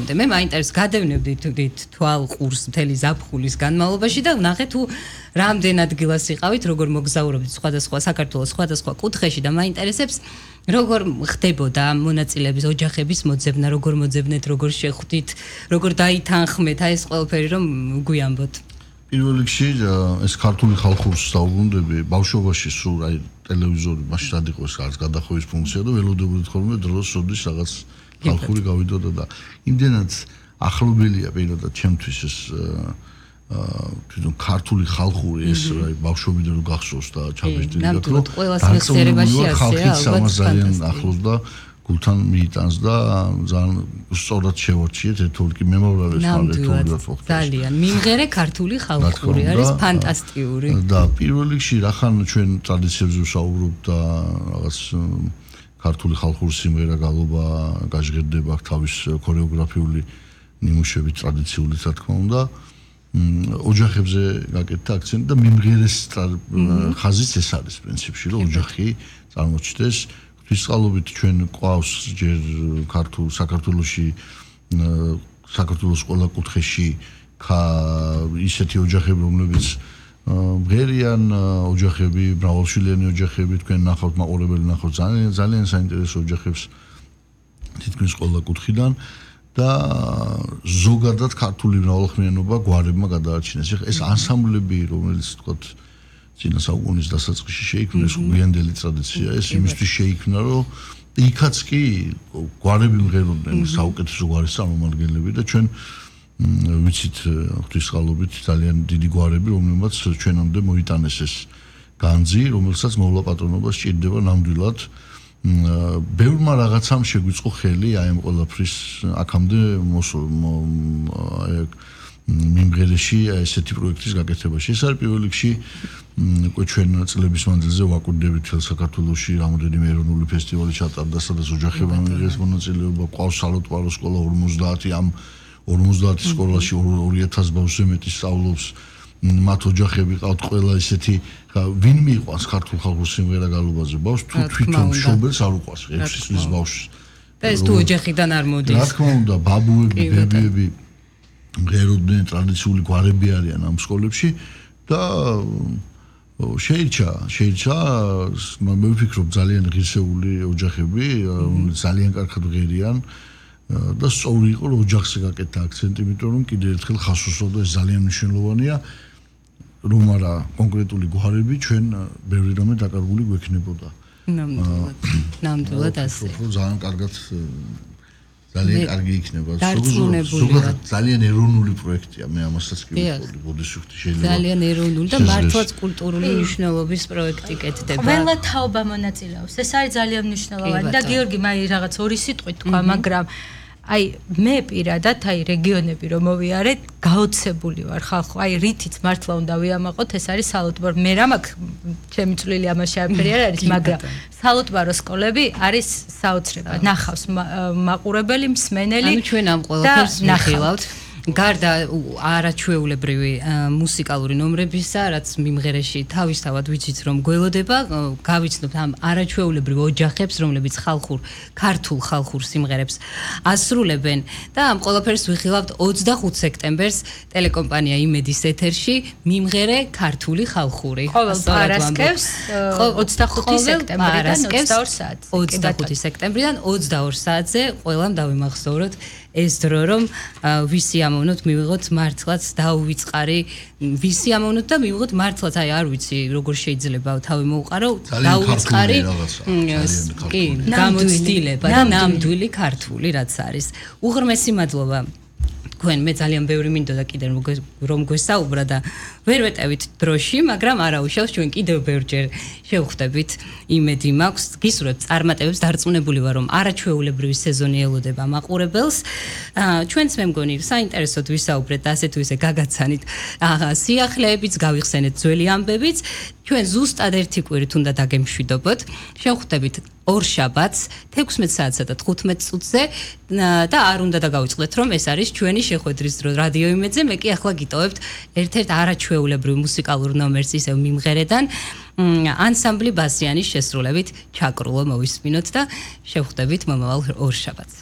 მომენტამდე მე მაინტერესებს გადავნებდით თვალ ყურს მთელი ზაფხულის განმავლობაში და ვნახე თუ რამდენ ადგილას იყავით, როგორ მოგზაურობთ სხვადასხვა საქართველოს სხვადასხვა კუთხეში და მაინტერესებს როგორ ხდებოდა მონაწილეების ოჯახების მოძებნა, როგორ მოძებნეთ, როგორ შეხვდით, როგორ დაითანხმეთ, ეს ყველაფერი რომ გვიამბოთ. პირველ რიგში ეს ქართული ხალხურს დაუბრუნდები, ბავშვობაში სულ აი ტელევიზორი მაშინ რად იყო ეს არის გადახოვის ფუნქცია და ველოდებოდით ხოლმე დროს სოდის რაღაც ხალხური გავიდოდა და იმდენად ახლობელია პირადად ჩემთვის ეს თვითონ ქართული ხალხური ეს ბავშვობიდან რომ გახსოვს და ჩაბეჭდილი და რომ ყველას მეხსიერებაში ასეა ალბათ ძალიან ახლოს და გულთან მიიტანს და ძალიან სწორად შევარჩიეთ ეთოლკი მემორიალებს მალეთოლად ძალიან მიმღერე ქართული ხალხური არის ფანტასტიკური და პირველ რიგში რახან ჩვენ ტრადიციებზე ვსაუბრობთ და რაღაც ქართული ხალხური სიმღერა გალობა გაჟღერდება თავის ქორეოგრაფიული ნიმუშებით ტრადიციული რა თქმა უნდა ოჯახებზე გაკეთდა აქცენტი და მიმღერეს ხაზიც ეს არის პრინციპში რომ ოჯახი წარმოჩნდეს ფისკალობით ჩვენ ყავს ჯერ საქართველოში საქართველოს ყველა კუთხეში ისეთი ოჯახები რომლებიც მღერიან ოჯახები მრავალშვილიანი ოჯახები თქვენ ნახავთ მაყურებელი ნახავთ ძალიან საინტერესო ოჯახებს თითქმის ყველა კუთხიდან და ზოგადად ქართული მრავალხმიანობა გვარებმა გადაარჩინეს. ეს ანსამბლები, რომელიც თქვათ წინა საუკუნის დასაწყისში შეიქმნა, ეს გვიანდელი ტრადიცია, ეს იმისთვის შეიქმნა, რომ იქაც კი გვარები მღეროდნენ საუკეთესო გვარის წარმომადგენლები და ჩვენ ვიცით ღვთისმსხალობით ძალიან დიდი გვარები, რომლებმაც ჩვენამდე მოიტანეს ეს განძი, რომელსაც მოვლა პატრონობა სჭირდება ნამდვილად ბევრმა რაღაცამ შეგვიწყო ხელი აი ამ ყველაფრის აქამდე მიმღერეში ესეთი პროექტის გაკეთებაში. ეს არის პირველ რიგში უკვე ჩვენ წლების მანძილზე ვაკვირდებით თელ საქართველოში რამოდენიმე ეროვნული ფესტივალი ჩატარდა, სადაც ოჯახებმა მიიღეს მონაწილეობა, ყავს სალოტვარო სკოლა 50 ამ 50 სკოლაში 2000 ბავშვზე მეტი სწავლობს. მათ ოჯახები ყავთ ყველა ისეთი ვინ მიყვანს ქართულ ხალხურ სიმღერა გალობაზე ბავშვს თუ თვითონ მშობელს არ უყვარს 6 წლის ბავშვს და ეს თუ ოჯახიდან არ მოდის რა თქმა უნდა ბაბუები ბებიები მღეროდნენ ტრადიციული გვარები არიან ამ სკოლებში და შეირჩა მე ვფიქრობ ძალიან ღირსეული ოჯახები ძალიან კარგად მღერიან და სწორი იყო რომ ოჯახზე გაკეთდა აქცენტი იმიტომ რომ კიდევ ერთხელ ხას უსვამდა ეს ძალიან მნიშვნელოვანია რომ არა კონკრეტული გვარები ჩვენ ბევრი რამე დაკარგული გვექნებოდა. ნამდვილად ასე. ძალიან კარგად ძალიან კარგი იქნება. ზოგადად ძალიან ეროვნული პროექტია. მე ამასაც კი ვიყოლი ბოდიშუხტი შეიძლება. ძალიან ეროვნული და მართლაც კულტურული მნიშვნელობის პროექტი კეთდება. ყველა თაობა მონაწილეობს. ეს არის ძალიან მნიშვნელოვანი და გიორგი მაი რაღაც ორი სიტყვით თქვა, მაგრამ აი მე პირადად აი რეგიონები რომ მოვიარეთ გაოცებული ვარ ხალხო აი რითიც მართლა უნდა ვიამაყოთ ეს არის სალუტბარო მე რა მაქვს ჩემი წვლილი ამაში არაფერი არ არის მაგრამ სალუტბარო სკოლები არის საოცრება ნახავს მაყურებელი მსმენელი ანუ ჩვენ ამ ყველაფერს ნახავთ გარდა არაჩვეულებრივი მუსიკალური ნომრებისა, რაც მიმღერეში თავისთავად ვიცით რომ გველოდება, გავიცნობთ ამ არაჩვეულებრივ ოჯახებს, რომლებიც ქართულ ხალხურ სიმღერებს ასრულებენ და ამ ყველაფერს ვიხილავთ 25 სექტემბერს ტელეკომპანია იმედის ეთერში მიმღერე ქართული ხალხური. ყოველ პარასკევს 25 სექტემბრიდან 22 საათზე. 25 სექტემბრიდან 22 საათზე ყველამ დავიმახსოვროთ ეს დრო რომ ვისი ამოვნოთ მივიღოთ მართლაც დაუვიწყარი ვისი ამოვნოთ და მივიღოთ მართლაც აი არ ვიცი როგორ შეიძლება თავი მოუყარო დაუვიწყარი კი გამოცდილება და ნამდვილი ქართული რაც არის უღრმესი მადლობა თქვენ მე ძალიან ბევრი მინდოდა კიდევ რომ გვესაუბრა და ვერ ვეტევით დროში, მაგრამ არაუშავს ჩვენ კიდევ ბევრჯერ შევხვდებით. იმედი მაქვს, გისურვებთ წარმატებებს, დარწმუნებული ვარ, რომ არაჩვეულებრივი სეზონი ელოდება მაყურებელს. ჩვენც მე მგონი საინტერესოდ ვისაუბრეთ და ასე თუ ისე გაგაცანით სიახლეებიც, გავიხსენეთ ძველი ამბებიც. ჩვენ ზუსტად ერთი კვირით უნდა დაგემშვიდობოთ. შევხვდებით ორშაბათს 16 საათსა და 15 წუთზე და არ უნდა დაგავიწყდეთ, რომ ეს არის ჩვენი შეხვედრის დრო რადიო იმედზე. მე კი ახლა გიტოვებთ ერთ-ერთ არაჩვეულებრივ მუსიკალურ ნომერს ისევ მიმღერედან ანსამბლი ბასიანის შესრულებით ჩაკრულო მოვისმინოთ და შევხვდებით მომავალ ორშაბათს.